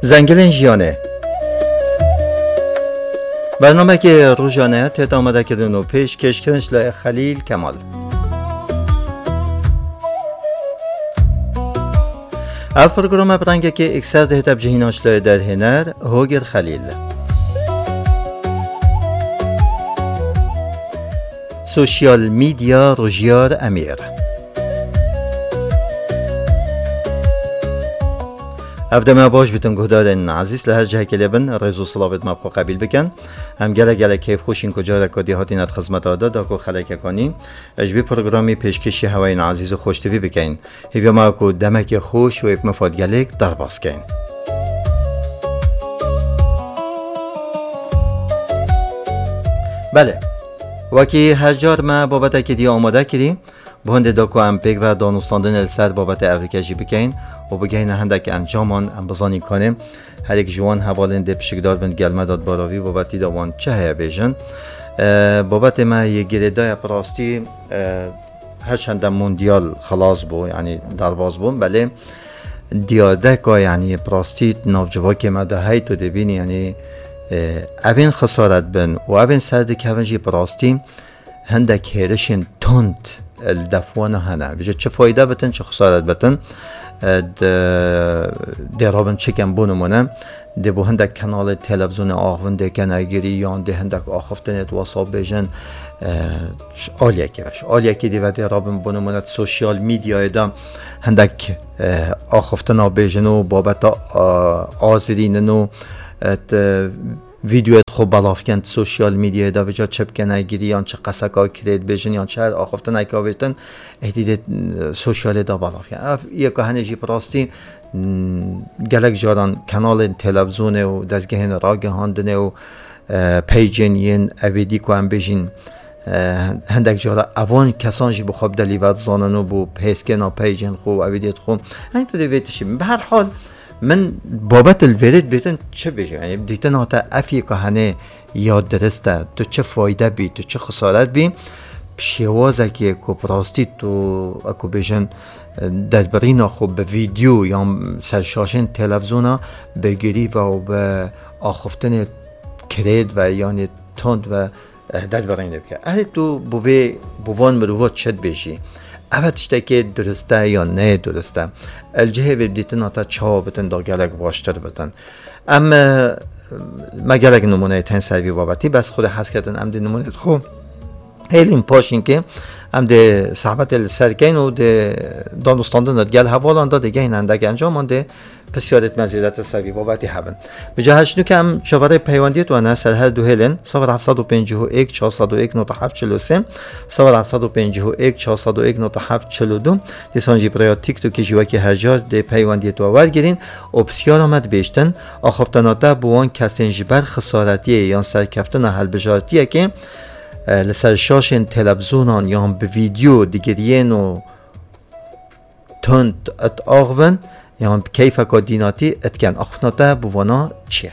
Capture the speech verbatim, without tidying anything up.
Zengilên Jiyanê. Bernamekê rojane tête amadekirin û pêşkêşkirin ji laya Xelîl Kemal. Ev programa bi rengekê ekser dihête bi cihîna ji laya derhêner Hogir Xelîl. Sosyal medya, Rojiyar Emîr. Ev deme baş bitin guhdarên ezîz, li her cihekê lê bin, rêz û silavêt me bi xwe qebîl bikin. Em gelek gelek keyfxweş in ku careke dî hatîne di xizmeta de, da ku xelekek anî ji vî programî pêşkêşî hewayên ezîz û xweş tivî bikeyin. Hêviya me ku demekê xweş û êp mifad gelêk derbas keyin. Belê, wekî her car me babetekê dî amade kirî, bi hindê da ku em pêk ve danûstandinê li ser babetê evrike jî bikeyin û bigehîne hindek encaman, em bizanîn kanê her yek ji wan hevalên dê pişikdar bin gel me de di baravî babetî de wan çi heye bêjin. E, babetê me yê girêdayê bi rastî, e, her çende mondyal xilas bû, yanî derbas bû, belê diyadeka, yanî bi rastî navcivakê me de hey tu dibînî, yanî, e, evên xisaret bin û evên ser dikevin jî bi rastî hindek hêrişên tund li def wana hene. Vêca çi fayde bitin, çi xisaret bitin, e, di, dê rabin çi ken, bo nimûne, dê bo hindek kanalê televîzyonê axivin dê kene girî, yan dê hindek axiftinê di WhatsApp bêjin, e, ji aliyekê ve. Ji aliyekê dê ve dê rabin, bo nimûne, di sosyal medyayê de hindek, e, axiftina bêjin û babeta, e, azirînin û, e, di, vîdeoyê xwe belav ken di sosyal medyayê de, vêca çi bikene girî, yan çi qeseka kirê dibêjin, yan çi her axiftineka bêtin, êdî dê, e, sosyalê de belav ken. Ev yeka hene jî bi rastî, m, gelek caran kanalên televîzyonê û dezgehên ragihandinê û, e, peycên yên evêdî ku em bêjin, e, hindek cara evan kesan jî bi xwe bi delî ve dizanin û bo hêzkirina peycên xwe û evêdiyê xwe. Heng tu dê vê tişî. Bi her hal, min babet li vêrê dibêtin çi bêjim? Yanî dîtin hate ev yeka hene ya dirist e, tu çi fayde bî, tu çi xisaret bî? Bi şêwazekê ku bi rastî tu, e, ku bêjin, e, derbirîna xwe bi vîdeo yan ser şaşên televîzyona bi girî ve û bi axiftinê kirêt ve yanî tund ve, eh, derbirînê bike. Erê tu bi vê, bi van mirova çi dibêjî? Ev tiştekê durist e yan ne durist e? Li cihê vê dîtina te çawa bitin da gelek baştir bitin? Em, eh, me gelek nimûneyê tên ser vî babetî, bes xwedê hez ketin em dê nimûneyê xwe hêlîn paşînkê, em dê sehbetê li ser keyn û dê danûstandin di gel hevalan de dê gehîn hindek encaman dê pisyarêt me zêdetir ser vî babetî hebin. Bi cihê çinûke em çaverê peywendiyê tu ne ser her du hêlên, sifir heft sed û pêncî û yek, çar sed û yek, nota heft çil û sê, sifir heft sed û pêncî û yek, çar sed û yek, nota heft çil û du, dîsan jî bi rêya TikTokê jî wekî her car dê peywendiyê tu wergirîn û pisyara me dibêjtin, axiftina te bi wan kesên ji ber xisaretiyê yan serkeftina hilbijartiyekê, e, li ser şaşên televîzyonan yan bi vîdeo digiriyên û tund it axivin, yan bi keyfeka dînatî it ken. Axiftina te bi vana çi ye?